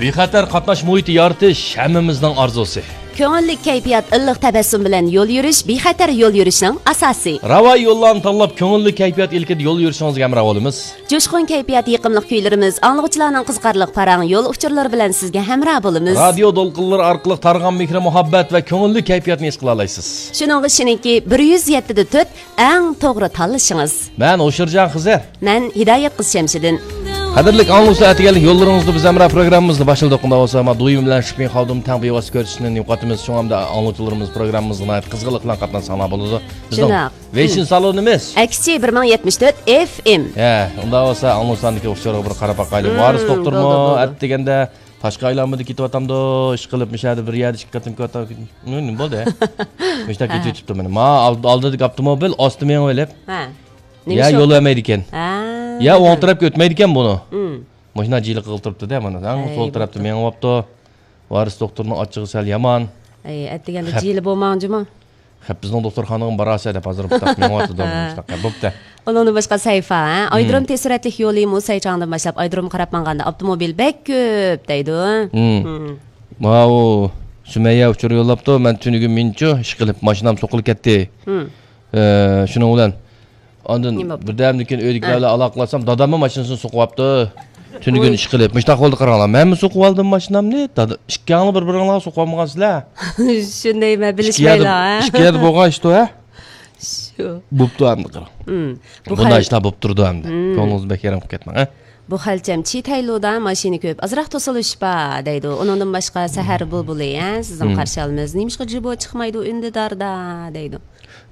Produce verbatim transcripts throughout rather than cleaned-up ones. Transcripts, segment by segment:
بىخەتەر قاتناش مۇھىتى يارىتىش ھەممىمىزنىڭ ئارزۇسى. كۆڭۈللۈك كەيپىيات، ئىللىق تەبەسسۇم بىلەن يول يۈرۈش بىخەتەر يول يۈرۈشنىڭ ئاساسى. راۋان يوللارنى تاللاپ، كۆڭۈللۈك كەيپىيات ئىلكىدە يول يۈرۈشىڭىزگە ھەمراھ بولىمىز. جۇشقۇن كەيپىيات، يېقىملىق كۈيلىرىمىز، ئاڭلىغۇچىلارنىڭ قىزىقارلىق پاراڭ يول ئۇچۇرلىرى بىلەن سىزگە ھەمراھ بولىمىز. رادىيو دولقۇنلىرى ئارقىلىق تارىغان مېھرى-مۇھەببەت ۋە كۆڭۈللۈك كەيپىياتنى ھېس قىلالايسىز. شۇنىڭغا ئىشىنىڭكى، بىر يۈز يەتتە دە تۆت ئەڭ توغرا تاللىشىڭىز. مەن ھوشۇرجان خىزەر. مەن ھىدايەت قىز شەمشىدىن. قەدىرلىك ئاڭلىغۇچىلار، ئەتىگەنلىك يوللىرىڭىزدا بىز ھەمراھ پروگراممىمىزنى باشلىدۇق. ئۇنداق بولسا، ما دويۇم بىلەن شىپىڭ خاۋدۇم تەڭ بىۋاسىتە كۆرسىتىشنى يوقاتىمىز. شۇڭا ئەمدى ئاڭلىغۇچىلىرىمىز پروگراممىمىزغا ناھايىتى قىزغىنلىق بىلەن قاتناشساڭلار بولىدۇ. بىزنىڭ شۇنداق. ۋېيشىن سالونىمىز. ئەكسىچى بىر مىڭ يەتمىش تۆت ئېف ئېم. ھە، ئۇنداق بولسا ئاڭلىغۇچىلاردىكى ئۇچۇرغا بىر قاراپ باقايلى. ۋارىس دوختۇرمۇ بولدى، بولدى. ئەتىگەندە تاشقى ئايلانمىدا كېتىۋاتامدۇ، ئىشقىلىپ، مۇشۇ يەردە بىر يەردە ئىككى قېتىم كېتىۋاتامدۇ. نېمە بولدى؟ مۇشۇنداق كېتىۋېتىپتۇ مانا. ما ئالدىدىكى ئاپتوموبىل ئاستا مېڭىۋېلىپ، يا يول بەرمەيدىكەن. يا ئوڭ تەرەپكە ئۆتمەيدىكەن بۇنى. مۇشۇنداق جىلىقى قىلىپ تۇرۇپتۇ-دە مانا. ئەڭ سول تەرەپتە مېڭىۋاپتۇ. ۋارىس دوختۇرنىڭ ئاچچىقى سەل يامان. ئەتىگەندە جىلە بولماڭ جۇمۇ. خەپ بىزنىڭ دوختۇرخانىغا بارارسەن دەپ ھازىر بۇنداق مېڭىۋاتىدۇ. مۇشۇنداق بوپتۇ. ئۇنىڭدىن باشقا سەيفا، ھە؟ ئايرودروم تېز سۈرئەتلىك يولى مۇسەي چاڭدىن باشلاپ ئايرودرومغا قاراپ ماڭغاندا ئاپتوموبىل بەك كۆپ دەيدۇ. ماۋۇ سۈمەييە ئۇچۇر يوللاپتۇ، مەن تۈنۈگۈن مىنچۇ ئىشقىلىپ ماشىنام سوقۇلۇپ كەتتى. ئە، شۇنىڭ بىلەن ئاندىن بىردەمدىن كېيىن ئۆيدىكىلەر بىلەن ئالاقىلاشسام، داداممۇ ماشىنىسىنى سوقۇۋاپتۇ. تۈنۈگۈن ئىشقىلىپ مۇشۇنداق بولدى، قاراڭلار، مەنمۇ سوقۇۋالدىم ماشىنامنى. دادا، ئىككىڭلار بىر بىرىڭلارغا سوقۇۋالمىغانسىلەر. شۇندايمەن، بىلىشمەيلا. ئىككى يەردە بولغان ئىشتۇ، ھە؟ شۇ. بوپتۇ ئەمدى قاراڭ. بۇ بۇنداق خەل ئىشلار بوپ تۇرىدۇ ئەمدى. كۆڭلىڭىزنى بەك يېرىم قىلىپ كەتمەڭ، ھە؟ بۇ خەلچەم چىتەيلۇدا ماشىنا كۆپ، ئازراق توسۇلۇش بار دەيدۇ. ئۇنىڭدىن باشقا سەھەر بۇلبۇلى، ھە، سىزنى قارشى ئالىمىز. نېمىشقا جىبو چىقمايدۇ ئۈندىداردا دەيدۇ.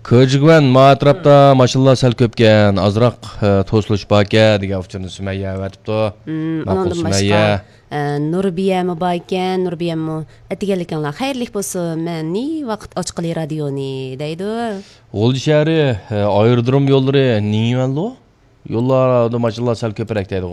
كۆجۈگۈەن، ما ئەتراپتا ماشىنىلار سەل كۆپكەن، ئازراق، ئە، توسۇلۇش باركەن دېگەن ئۇچۇرنى سۈمەييە ئەۋەتىپتۇ. ماقۇل ئۇنىڭدىن باشقا، سۈمەييە. ئە، نۇربىيەمۇ باركەن، نۇربىيەممۇ ئەتىگەنلىكىڭلار خەيرلىك بولسۇن، مەن نى ۋاقىت ئاچقىلى رادىيونى دەيدۇ. غۇلجا شەھىرى، ئە، ئايرودروم يوللىرى نېمەلۇ؟ يوللاردا ماشىنىلار سەل كۆپرەك دەيدىغۇ.